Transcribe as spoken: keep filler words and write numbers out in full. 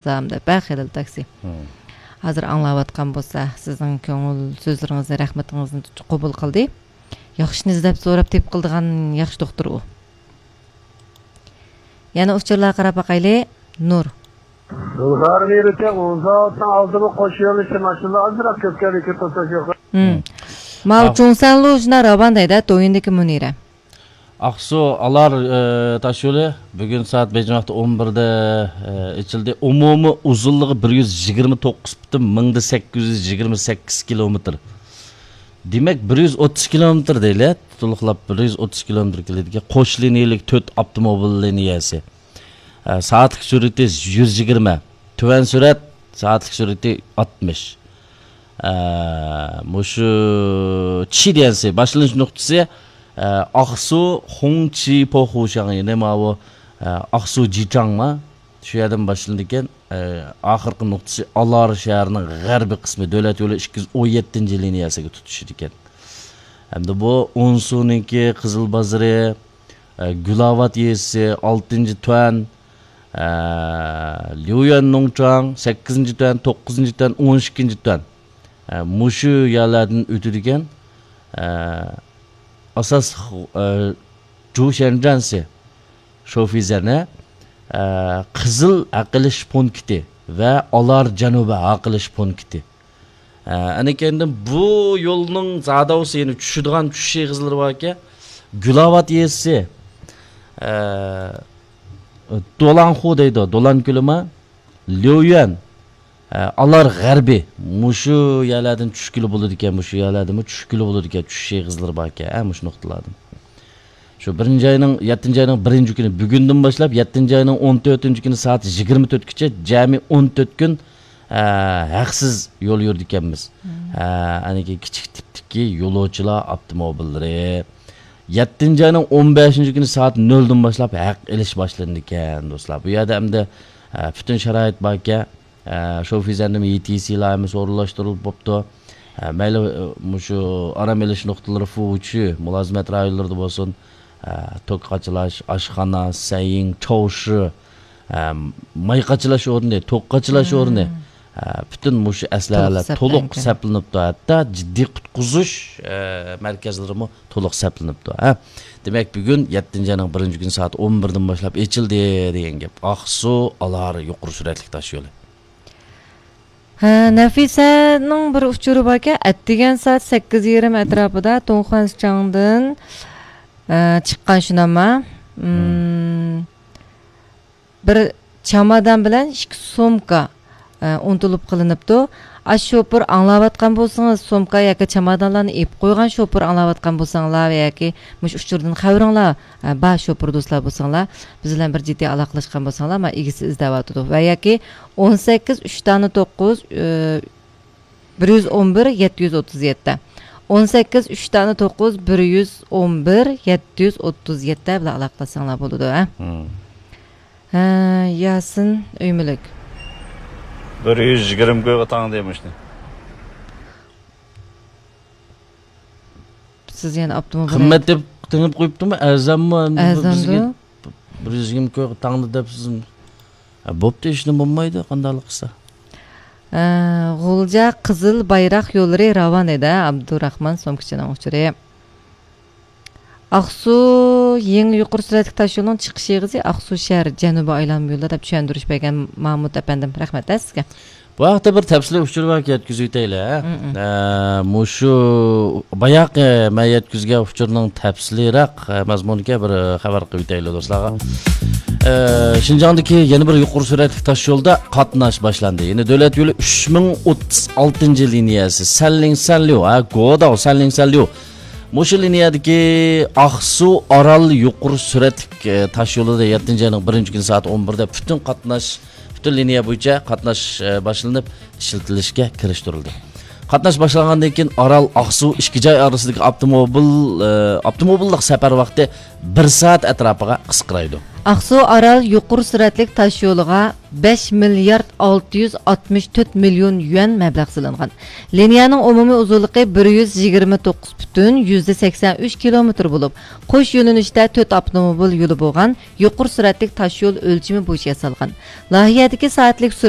زام دەپ، ھە، خېلىل تاكسى. ھازىر ئاڭلاۋاتقان بولسا، سىزنىڭ كۆڭۈل سۆزلىرىڭىزنى، رەھمىتىڭىزنى قوبۇل قىلدى. ياخشىنى ئىزدەپ سوراپ تېپىپ قىلىدىغان ياخشى دوختۇر ئۇ. يەنە ئۇچۇرلارغا قاراپ باقايلى. نۇر. گۈلزار نېرىچە ئۇزاۋاتنىڭ ئالدىمۇ قوش يۆنىلىشتە ماشىنىلار ئازراق كۆپكەنلىكى توساش يوق. ھىم. ماۋۇ چۇڭسەنلۇ شۇنداق راۋان دەيدۇ، دويىندىكى مۇنىرە. ئاقسۇ ئالار، ئى، تاشيولى بۈگۈن سائەت بېيجىڭ ۋاقتى ئون بىردە، ئى، ئېچىلدى. ئومۇمىي ئۇزۇنلۇقى بىر يۈز يىگىرمە توققۇز پۈتۈن مىڭدا سەككىز يۈز يىگىرمە سەككىز كىلومېتىر. دېمەك، بىر يۈز ئوتتۇز كىلومېتىر دەيلى، تولۇقلاپ بىر يۈز ئوتتۇز كىلومېتىر كېلىدىكەن. قوش لىنىيەلىك تۆت ئاپتوموبىل لىنىيەسى. ئە، سائەتلىك سۈرئىتى يۈز يىگىرمە، تۆۋەن سۈرئەت سائەتلىك سۈرئىتى ئاتمىش. ئە، مۇشۇ چى ديەنسى باشلىنىش نۇقتىسى، ئە، ئاقسۇ خۇڭچى پوخۇشاڭ، يەنى ماۋۇ، ئە، ئاقسۇ جىچاڭما، شۇ يەردىن باشلىنىدىكەن. ئە، ئاخىرقى نۇقتىسى ئالار شەھىرىنىڭ غەربىي قىسمى، دۆلەت يولى ئىككى يۈز ئون يەتتىنچى لىنىيەسىگە تۇتىشىدىكەن. ھەمدە بۇ ئونسۇنىڭكى قىزىل بازىرى، ئە، گۈلاۋات يېزىسى، ئالتىنچى تۈەن، ئە، ليۇيۈەن نۇڭچاڭ، سەككىزىنچى تۈەن، توققۇزىنچى تۈەن، ئون ئىككىنچى تۈەن. ئە، مۇشۇ يەرلەردىن ئۆتىدىكەن. ئە، ئاساسلىق، ئە، جۇشەنجەنسى شوفىزەنە، ئە، قىزىل ھەق ئېلىش پونكىتى ۋە ئالار جەنۇبى ھەق ئېلىش پونكىتى. ئە، ئەنىكەندىن بۇ يولنىڭ زاداۋسى، يەنى چۈشىدىغان چۈشۈش ئېغىزلىرى باركەن. گۈلاۋات يېزىسى، ئە، دولانخۇ دەيدۇ، دولان كۆلىما، ليۇيۈەن، ئە، ئالار غەربىي. مۇشۇ يەرلەردىن چۈشكىلى بولىدىكەن، مۇشۇ يەرلەردىنمۇ چۈشكىلى بولىدىكەن، چۈشۈش ئېغىزلىرى باركەن، ھە، مۇشۇ نۇقتىلاردىن. شۇ بىرىنچى ئاينىڭ، يەتتىنچى ئاينىڭ بىرىنچى كۈنى، بۈگۈندىن باشلاپ يەتتىنچى ئاينىڭ ئون تۆتىنچى كۈنى سائەت يىگىرمە تۆتكىچە جەمئىي ئون تۆت كۈن، ئە، ھەقسىز يول يۈرىدىكەنمىز. ئە، ئەنىكى كىچىك تىپتىكى يولۇچىلار ئاپتوموبىللىرى. يەتتىنچى ئاينىڭ ئون بەشىنچى كۈنى سائەت نۆلدىن باشلاپ ھەق ئېلىش باشلىنىدىكەن، دوستلار. بۇ يەردە ئەمدى، ئە، پۈتۈن شارائىت باركەن. ئە، شوفىزەننىڭ يېتىسى ئىلاھىمىز ئورۇنلاشتۇرۇلۇپ بوپتۇ. ئە، مەيلى، ئە، مۇشۇ ئارام ئېلىش نۇقتىلىرى فۇچۈ، مۇلازىمەت رايونلىرىدا بولسۇن، ئە، توك قاچىلاش، ئاشخانا، سەييىڭ، چاۋشى، ئە، ماي قاچىلاش ئورنى، توك قاچىلاش ئورنى، ئە، پۈتۈن مۇشۇ ئەسلىھەلەر تولۇق سەپلىنىپتۇ. ھەتتا جىددىي قۇتقۇزۇش، ئە، مەركەزلىرىمۇ تولۇق سەپلىنىپتۇ، ھە. دېمەك، بۈگۈن يەتتىنچى ئاينىڭ بىرىنچى كۈنى سائەت ئون بىردىن باشلاپ ئېچىلدى دېگەن گەپ. ئاقسۇ ئالار يۇقىرى سۈرئەتلىك تاش يولى. ھە، نەفىسەنىڭ بىر ئۇچۇرى باركەن، ئەتىگەن سائەت سەككىز يېرىم ئەتراپىدا تۇڭخۇەنسىچاڭدىن، ئە، چىققان شۇناما. مم، بىر چامادان بىلەن ئىككى سومكا، ئە، ئۇنتۇلۇپ قېلىنىپتۇ. ئاشۇ شوپۇر ئاڭلاۋاتقان بولسىڭىز، سومكا ياكى چامادانلارنى ئېلىپ قويغان شوپۇر ئاڭلاۋاتقان بولساڭلار ۋە ياكى مۇشۇ ئۇچۇردىن خەۋىرىڭلار، ئە، بار شوپۇر دوستلار بولساڭلار، بىز بىلەن بىر جىددىي ئالاقىلەشكەن بولساڭلار، مانا ئىگىسى ئىزدەۋاتىدۇ. ۋە ياكى ئون سەككىز ئۈچ دانە توققۇز، ئە، بىر يۈز ئون بىر يەتتە يۈز ئوتتۇز يەتتە. ئون سەككىز ئۈچ دانە توققۇز، بىر يۈز ئون بىر يەتتە يۈز ئوتتۇز يەتتە بىلەن ئالاقىلەشسەڭلار بولىدۇ، ھە؟ ھە، ياسىن ئۆيمۈلۈك. بىر يۈز يىگىرمە كويغا تاڭدى مۇشۇنى. سىز يەنە ئاپتوموبىل قىممەت دەپ تېڭىپ قويۇپتىمۇ؟ ئەرزانمۇ؟ ئەمدى بىزگە بىر يۈز يىگىرمە كويغا تاڭدى دەپ سىز، ھە، بوپتۇ، ئىشنى بولمايدۇ، قانداقلىق قىلسا. ئە، غۇلجا قىزىل بايراق يوللىرى راۋان ئىدى، ئابدۇراخمان سومكىچىنىڭ ئۇچۇرى. ئاقسۇ يېڭى يۇقىرى سۈرئەتلىك تاش يولىنىڭ چىقىش ئېغىزى ئاقسۇ شەھەر جەنۇبىي ئايلانما يولى دەپ چۈشەندۈرۈش بەرگەن مامۇت ئەپەندىم، رەھمەت سىزگە. بۇ ھەقتە بىر تەپسىلىي ئۇچۇر باركەن، يەتكۈزۈۋېتەيلى، ھە؟ مم. ئە، مۇشۇ باياقى مەن يەتكۈزگەن ئۇچۇرنىڭ تەپسىلىيراق، ئە، مەزمۇنىغا بىر، ئە، خەۋەر قىلىۋېتەيلى دوستلارغا. ئە، شىنجاڭدىكى يەنە بىر يۇقىرى سۈرئەتلىك تاش يولدا قاتناش باشلاندى. يەنى دۆلەت يولى ئۈچ مىڭ ئوتتۇز ئالتىنچى لىنىيەسى، سەنلىڭ سەنليۇ، ھە، گوداۋ سەنلىڭ سەنليۇ. مۇشۇ لىنىيەدىكى ئاقسۇ ئارال يۇقىرى سۈرئەتلىك، ئە، تاش يولىدا يەتتىنچى ئاينىڭ بىرىنچى كۈنى سائەت ئون بىردە پۈتۈن قاتناش، پۈتۈن لىنىيە بويىچە قاتناش، ئە، باشلىنىپ، ئىشلىتىلىشكە كىرىشتۈرۈلدى. قاتناش باشلانغاندىن كېيىن ئارال ئاقسۇ ئىككى جاي ئارىسىدىكى ئاپتوموبىل، ئە، ئاپتوموبىللىق سەپەر ۋاقتى بىر سائەت ئەتراپىغا قىسقىرايدۇ. ئاقسۇ ئارال يۇقىرى سۈرئەتلىك تاش يولىغا بەش مىليارد ئالتە يۈز ئاتمىش تۆت مىليون يۈەن مەبلەغ سېلىنغان. لىنىيەنىڭ ئومۇمىي ئۇزۇنلۇقى بىر يۈز يىگىرمە توققۇز پۈتۈن يۈزدە سەكسەن ئۈچ كىلومېتىر بولۇپ، قوش يۆنىلىشتە تۆت ئاپتوموبىل يولى بولغان يۇقىرى سۈرئەتلىك تاش يول ئۆلچىمى بويىچە ياسالغان. لايىھەدىكى سائەتلىك سۈرئەت